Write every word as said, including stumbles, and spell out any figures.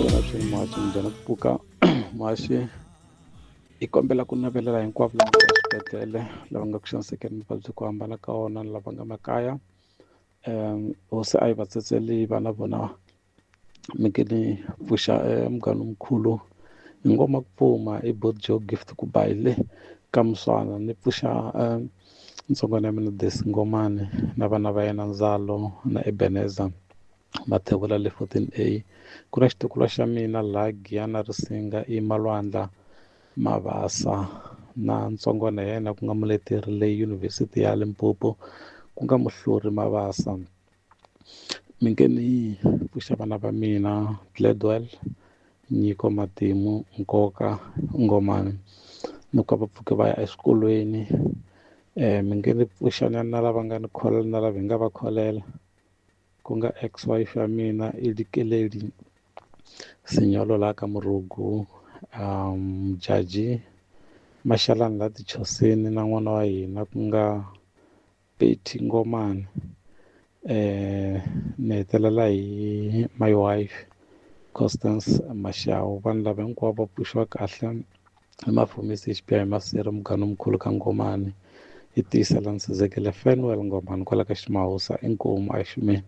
Sivela muhaxi njhani ku pfuka muhaxi hi kombela ku navelela hinkwavo lava nga eswibedhlele lava nga ku xanisekeni mavabyi ku hambana ka wona lava nga makaya um hosi a yi va tsetseli vana vona mi nge ni pfuxa munghana mkhulu hi ngoma ku pfuma i bot Joe Gift ku ba hi le ka Muswana ni pfuxa ntsongwana ya mina Desi Ngomane na vana va yena Ndzalo na Ebeneza Mathebula le fourteen A ku na xitukulwa xa mina laha Giyani Risinga i Malwandla Mabasa na ntsongwana ya yena ku nga muleteri le University ya Limpopo ku nga Muhluri Mabasa mi nge ni pfuxa vana va mina Gladwell Nyiko Matimu Nkoka Ngomane ni ku va pfuke va ya eswikolweni um mi nge ni pfuxana na lava nga ni kholela na lava hi nga va kholela ku nga ex wife ya mina i Dikeledi Sinyolo laha ka Murugu um Jaji Maxalani la Tichoseni na n'wana wa hina ku nga Betty Ngomane eh ni hetelela hi my wife Constance Mashau vanhu lava hinkwavo va pfuxiwa kahle hi mafumisi H P I Maseri muganga mkhulu ka Ngomane hi tiyisela ni Sizekele Fanuel Ngomane kwala ka Ximahusa inkomu a xumeni.